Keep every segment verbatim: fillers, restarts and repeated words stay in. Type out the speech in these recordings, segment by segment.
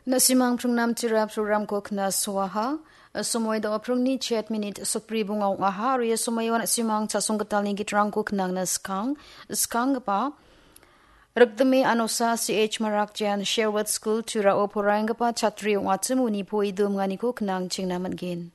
Na·simang pringnam tira programko knasoaha. Somoi da·o pringni chet minit sokbri bonga ong·aha. Aro ia somoio na·simang chasong gitalni gitrangko knangna skang. Skanggipa Rikdime Anosa C H Marak Jan Sherwood School Turao poraienggipa chatri ong·achim uni poi dumganiko knangchengna man·gen.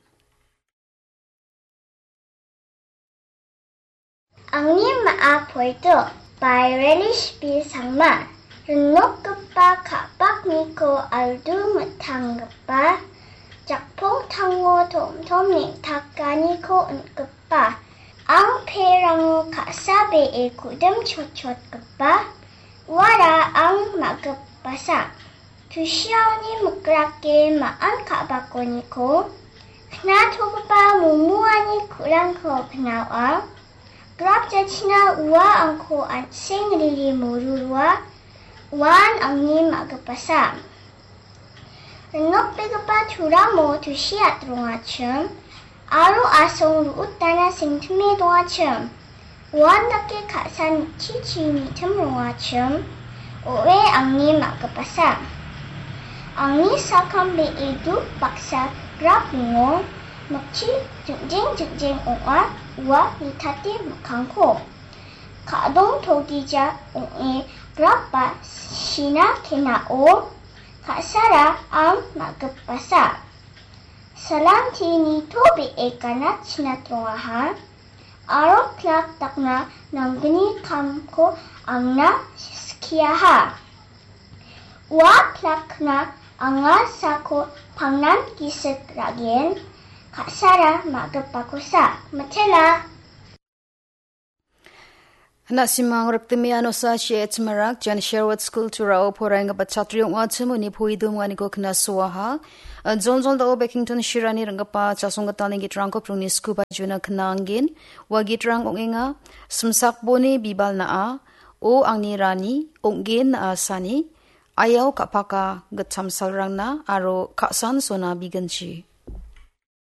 Angni ma·a poito by Relish B Sangma. Rinokgipa ka·pakniko aldu mitanggipa, jakpong tango tom-tom neng·takaniko on·gipa. Ang perango ka·sa be·e kudim chotchotgipa, uara ang ma·gipasa. Tusiaoni mikrake ma·an ka·bakoniko, knatogipa momoani ku·rangko pinaoa. Grap jachina ua angko an·seng riri morurua, uan angni ma·gipasa. Rinokbegipa turamo tusi atrongachim, aro asong ru·utana sengtime dongachim. Uandake ka·san chichi nitim rongachim, o·e angni ma·gipasa. Angni sakam be·e duk baksa grap ringo, mikchi jingjeng jingjeng ong·a, ua nitate mikkangko. Ka·dong togija ong·e grapba sina kenao, ka·sara ang ma·gipasa. Salanti nitobee gana chinatrongaha, aro plak dakna nanggni kamko angna skiaha. Ua plakna anga sako pangnan gisik ra·gen, ka·sara ma·gipakosa mitela. Na·simang Rikdime Anosa C H Marak Jan Sherwood School Turao poraienggipa chatri ong·achim uni poi dumganiko knasoaha. Joljol da·o Bekington Shirani ring·gipa chasong gitalni gitrangko pringni skuba juna knanggen. Ua gitrang ong·enga, Simsakboni bibal na·a, O angni rani, ong·gen na·a sani, Ayao ka·paka gitcham salrangna aro ka·san sona biginchi.